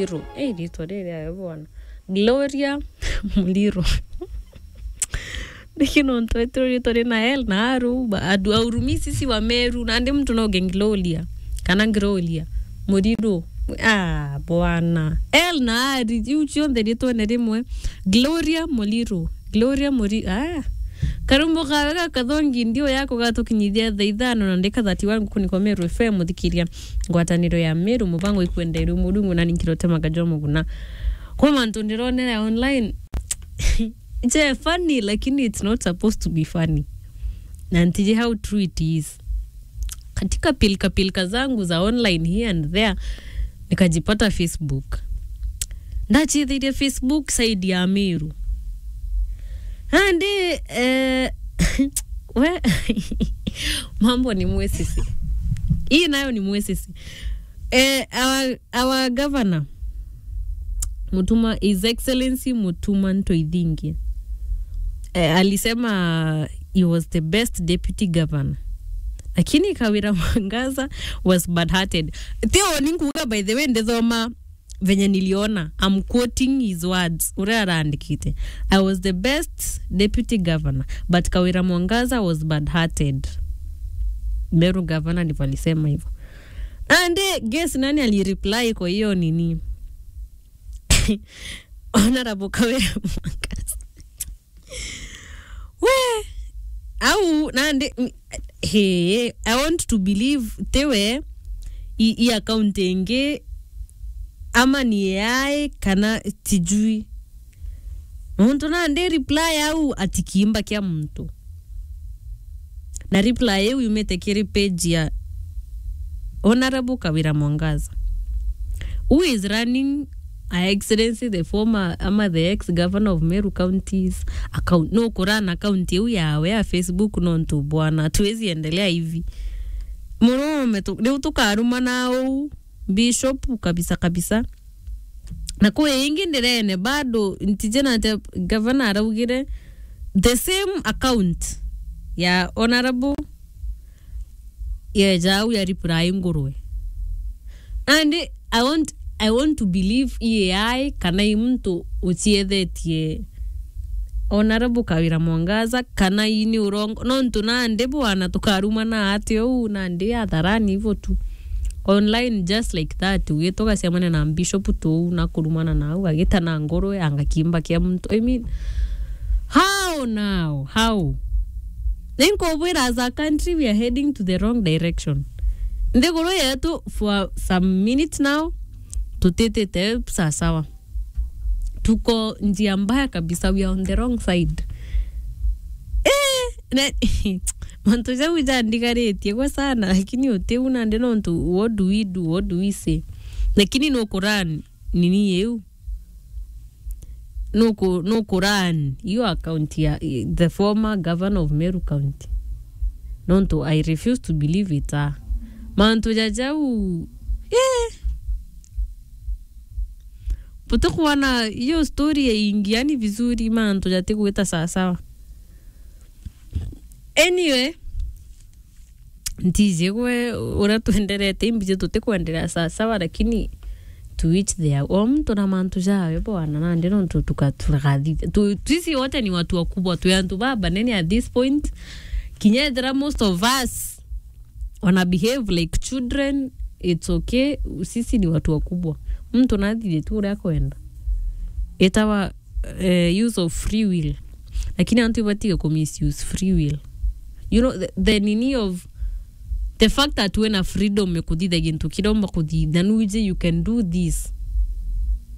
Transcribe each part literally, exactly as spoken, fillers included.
Muliro. Eh, ritwa riri ayo bwana. Gloria Muliro. Ndiki nontu etirwo ritwa rina L na R, ba-, andu a Urumi sisi wa Meru, nandi muntu no auge Gloria, kana Gloria Muliro. Ah, bwana. L na R, iu cionthe ritwene rimwe. Gloria Muliro. Gloria Muri-, ah. Karumbo kawe ga kathongi ndio yako gatukinyithia thaa ithano na ndika thirty-one gukunikwa Meru F M, muthikiria ngwataniro ya Meru, mubango ikwenderwe Murungu na ninkirotemaga jwa muguna. Kwa mantu ndironera online, je funny, lakini it's not supposed to be funny. Na ntiji how true it is. Katika pilka pilka zangu za online here and there, nikajipata Facebook. Ndachithirie Facebook side ya Meru. Andi, eh, we, mambo ni mwesisi. Hii nayo ni mwesisi. Eh, our, our governor, Mutuma, His Excellency Mutuma Ntoithingi, eh, alisema he was the best deputy governor. Lakini Kawira Mwangaza was bad-hearted. Theo ni nkuuga, by the way, ndithoma venye niliona. I'm quoting his words. Uria araandikite. "I was the best deputy governor, but Kawira Mwangaza was bad-hearted." Meru governor ndivyo alisema hivyo. And, eh, guess nani alireply kwa hiyo nini? Honorable Kawira Mwangaza. We, au, nandi, mm, he, I want to believe tiwe i, i account ingi, ama ni A I, kana tijui. Muntu nandi reply au ati kiimba kia muntu. Na reply iu yumite kiri page ya Honorable Kawira Mwangaza, who is running, Her Excellency the former, ama the ex governor of Meru County's account. No kurun account iu yawe ya Facebook, nontu bwana, tuwezi endelea hivi. Murume tu, riu tukarumana uu, Bishop kabisa kabisa. Na kwi ingi ndirene bado, ntije na ati governor araugire the same account ya Honorable yeja au ya reply ngurwe. And I want, I want to believe i A I kana i muntu uciethetie Honorable Kawira Mwangaza, kana i ni urongo, nontu nandi bwana tukarumana ati uu, nandi atharani ivo tu. Online just like that, ugite ugacemania na bishop tu uu na kurumana nau, agita na ngurwe, anga kiimba kia muntu. I mean, how now? How? Ninkubwira, as a country, we are heading to the wrong direction. Nthiguru yetu for some minutes now, tutitite sawasawa. Tuko njia mbaya kabisa, we are on the wrong side. Eh, na, mantu jau jandigaritie gwe sana, lakini utiu nandi nontu, what do we do, what do we say? Lakini nukurun nini iu? Nuku-, nukurun iyo account ya, i, the former governor of Meru County. Nontu I refuse to believe it, ah. Mantu ja jau, eh. Buti kuona iyo story ya ingiani vizuri, mantu jatigwita sawasawa. Anyway, ntiji gwe uria twenderete, imbiji tutikwenderea sawasawa, lakini to each their own. Muntu na mantu jawe bwana, nandi nontu tuka-, turagathithia. Tu-, sisi wote ni watu wakubwa, twi antu babanene at this point. Kinya ethira most of us wana behave like children, it's okay. Sisi ni watu wakubwa. Muntu nathithie tu uria akwenda. Itawa, eh, use of free will. Lakini antu ibatige ku misuse free will. You know, the, the nini of the fact that wina freedom ya kuthithia gintu kiria umba kuthithia, nuije you can do this.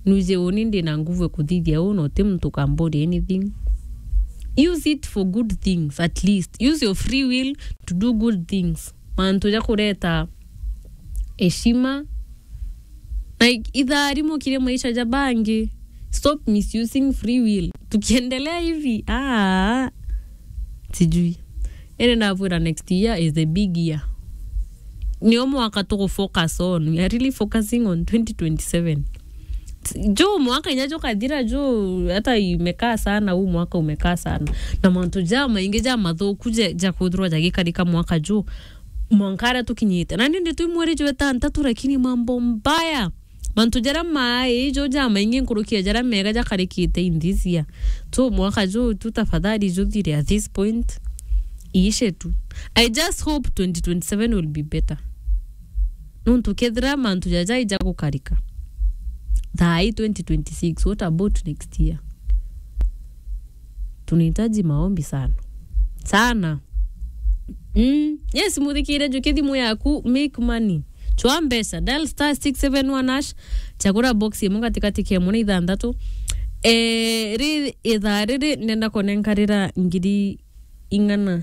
Nuije uni ndina nguvu ya kuthithia uu, na uti muntu ukamburi anything. Use it for good things at least. Use your free will to do good things. Mantu ja kureta heshima, na i-, itharimo kiri maisha ja bangi. Stop misusing free will. Tukiendelea hivi, ah, sijui. Ene nabwira next year is the big year. Nio mwaka tuku focus on. We are really focusing on twenty twenty-seven. Juu mwaka inya jukathira juu, hata imekaa sana, huu mwaka umekaa sana. Na mantu ja maingi ja mathuku ja, ja kwithirwa jagikarika mwaka juu. Mwanka aria tukinyite. Na nindi twi mweri jwa itantatu, lakini mambo mbaya. Mantu jaria mai jo jamaingi nkuruki ya jaria mega jakarikite in this year. So mwaka ju tu tafadhali juthire at this point. Iishe tu. I just hope twenty twenty-seven will be better. Nontu kethira mantu jaja ijagukarika. Thaa ii twenty twenty-six, what about next year? Tunahitaji maombi sana. Sana. Mm. Yes, muthikire, njukia thimu yaku, make money. Chwa mbeca, dial star six seven one hash, chagura box imwe katikati kia imwe na ithanthatu. Eh, ri ithaa riri ndenda kunenkarira ngiri ing'ana,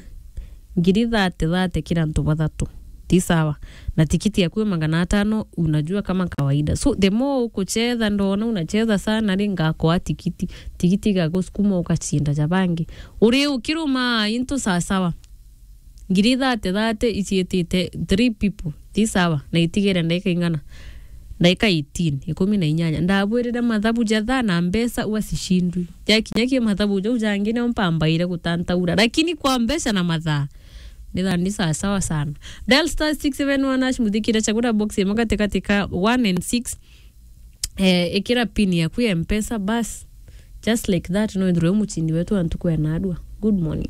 ngiri thate thate kila antu bathatu. Ti sawa. Na tikiti yaku ya magana atano, unajua kama kawaida. So, the more ukucheza, ndona unacheza sana, ri ngakoa tikiti. Tikiti igagusukuma ukachinda ja bangi. Uri ukiruma into sawa sawa. Ngiri thate thate iciitite three people. Ti sawa. Na itigere ndaika ing'ana? Ndaika eighteen, ikumi na inyanya. Ndabwirire mathabu ja thaa na mbeca ua cicindwi. Jakinya ki mathabu jau jangi nio mpambaire gutantaura. Lakini kwa mbeca na mathaa, ni thaa ni sawa sawa sana. Dial star six seven one hash, muthikire, chagura box imwe katikati ka one and six. Eh, ikira pin yaku ya Mpesa, bas. Just like that, no ithirwe muchindi wetu antu kwena adua. Good morning.